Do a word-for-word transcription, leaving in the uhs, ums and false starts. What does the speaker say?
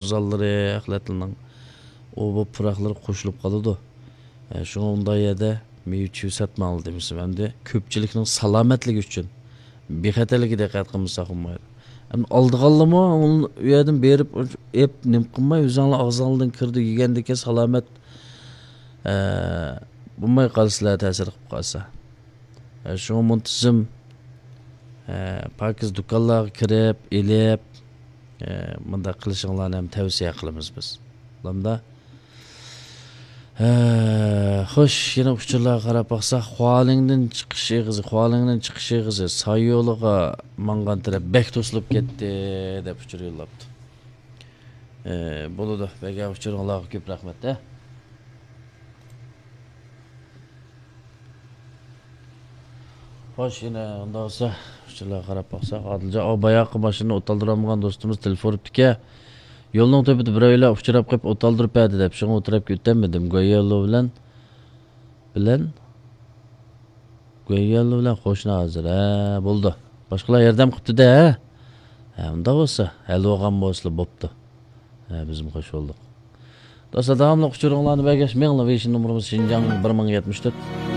ئوزانلىرى، خىلەتلىنىڭ ئۇ بۇ پۇراقلىرى قوشۇلۇپ قالىدۇ. ئە، شۇڭا ئۇنداق يەردە مېۋە چېۋە ساتماڭلار دېمىسىم. ئەمدى كۆپچىلىكنىڭ سالامەتلىكى ئۈچۈن، بىخەتەرلىكىگە دىققەت قىلمىساق بولمايدۇ. ئەمدى ئالىدىغانلارمۇ ئۇ يەردىن بېرىپ ئېپ نېمە قىلماي، ئۆزۈڭلار ئاغزىڭلاردىن كىرىدۇ، يېگەندىكىن سالامەت، ئە، بولماي قالسىلەر، تەسىر قىلىپ قالسا. ئە، شۇڭا مۇنتىزىم، ئە، پاكىز دۇكانلارغا كىرىپ، ئېلىپ، ئە، مۇنداق قىلىشىڭلارنى ھەم تەۋسىيە قىلىمىز بىز. بولامدا؟ ئە، خوش، يەنە ئۇچۇرلارغا قاراپ باقساق، خۇالىڭدىن چىقىش ئېغىزى، خۇالىڭدىن چىقىش ئېغىزى، ساي يولىغا ماڭغان تەرەپ بەك توسۇلۇپ كەتتى، دەپ ئۇچۇر يوللاپتۇ. ئە، بولىدۇ، بەرگەن ئۇچۇرۇڭلارغا كۆپ رەھمەت، ھە. خوش، يەنە ئۇنداق بولسا، ئۇچۇرلارغا قاراپ باقساق، ئادىلجان، ئاۋۇ باياقى ماشىنىنى ئوتالدۇرالمىغان دوستىمىز تېلېفون ئۇرۇپتىكەن. يولنىڭ تۈپىدە بىرەيلەن ئۇچراپ قېلىپ ئوتالدۇرۇپ بەردى دەپ، شۇڭا ئۇ تەرەپكە ئۆتەلمىدىم. گويەللو بىلەن، بىلەن، گويەللو بىلەن قوشنا ھازىر. ھە، بولدى. باشقىلار ياردەم قىپتۇ-دە، ھە؟ ھە، ئۇنداق بولسا، ھەل بولغان بولسىلا بوپتۇ. ھە، بىزمۇ خوش بولدۇق. دوستلار، داۋاملىق ئۇچۇرۇڭلارنى بەرگەچ، مېڭىڭلار، ۋېيشىن نومۇرىمىز شىنجاڭ بىر مىڭ يەتمىش تۆت.